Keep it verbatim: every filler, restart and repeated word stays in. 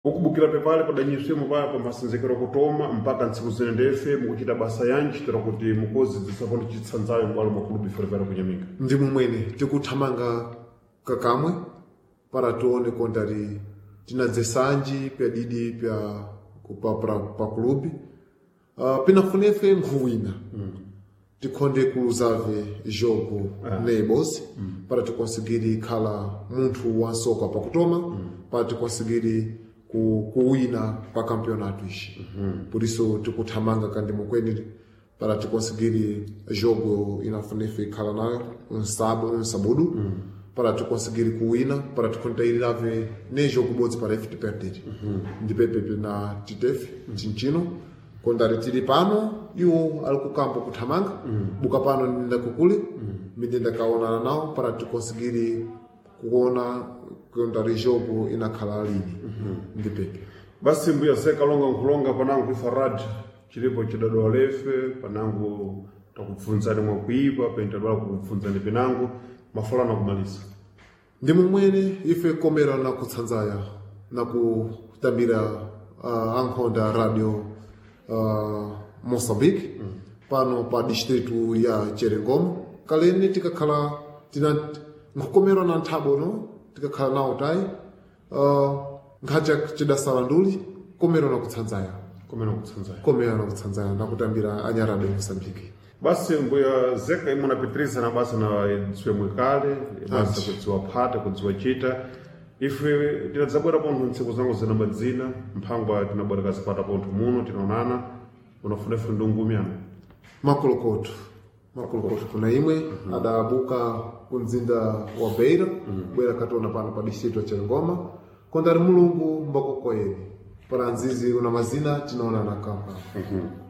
Ukubukira pepale padanyiswemo paya pamasenzekero kutoma mpaka ntsiku zine ndefe mukuchita basa yanji tera kuti mukozi zisakondi chitsanzayo m'bwalo mwa kulubi ferefere kunyaminga. Ndi mumwene tikuthamanga kakamwe para tione kontari tinadzesanji pyadidi pya pa, pa, pa kulubi uh, pinafunefe nkhuwina mm. tikhonde kuluzave jogo ah. neighbors mm. para tikonsigiri khala munthu wansoka pakutoma mm. para tikonsigiri ku, kuwina pa campeonato ishi mm -hmm. por isso tikuthamanga kandi mukweni para tikonsigiri jogo inafunefe ikhala nayo um sabudu mm. para tikonsigiri kuwina para tikontairirabe ne jogo bodzi para ife tiperdere mm -hmm. ndipepepe na titefe mm. chinchino kondari tili pano iwo ali kukampo kuthamanga mm. buka pano ndinda kukule mm. minde ndakaonana nawo para tikonsigiri kuona kondari jogo inakhala lini mm -hmm. ndipepe basi mbuya sekalonga nkhulonga panangu ifarad chilipo chidadowa lefe panangu takupfunzani mwakuipa pentadwala kukupfunzani penangu mafulano akumaliza. Ndi mumwene ife komera na kutsanzaya na kutambira uh, ankhonda radio uh, Moçambique mm. pano pa distrito ya Cherengomo kaleni tikakhala tina nkhukomerwa na nthabo no tikakhala nawo tayi uh, nkhacha cidasala nduli komera na kutsanzaya komera kutsanzaya komera na kutsanzaya na kutambira anya radio Moçambique. Basi mbuya zeka imwe napitirisa na basa na dziwe mwekale basa kudziwa phata kudziwa chita ife tinadzabwera pontho ntsiku zangu zina madzina mphangwa tinabwera kazipata pontho muno tinaonana unafuna ife ndungumyana makolokoto makolokoto kuna imwe mm -hmm. adabuka ku mzinda wa Beira mm -hmm. bwera kationa pano pa distrito ya Cheringoma kondari mulungu mbakokoyeni para nzizi una mazina tinaonana kampa mm -hmm.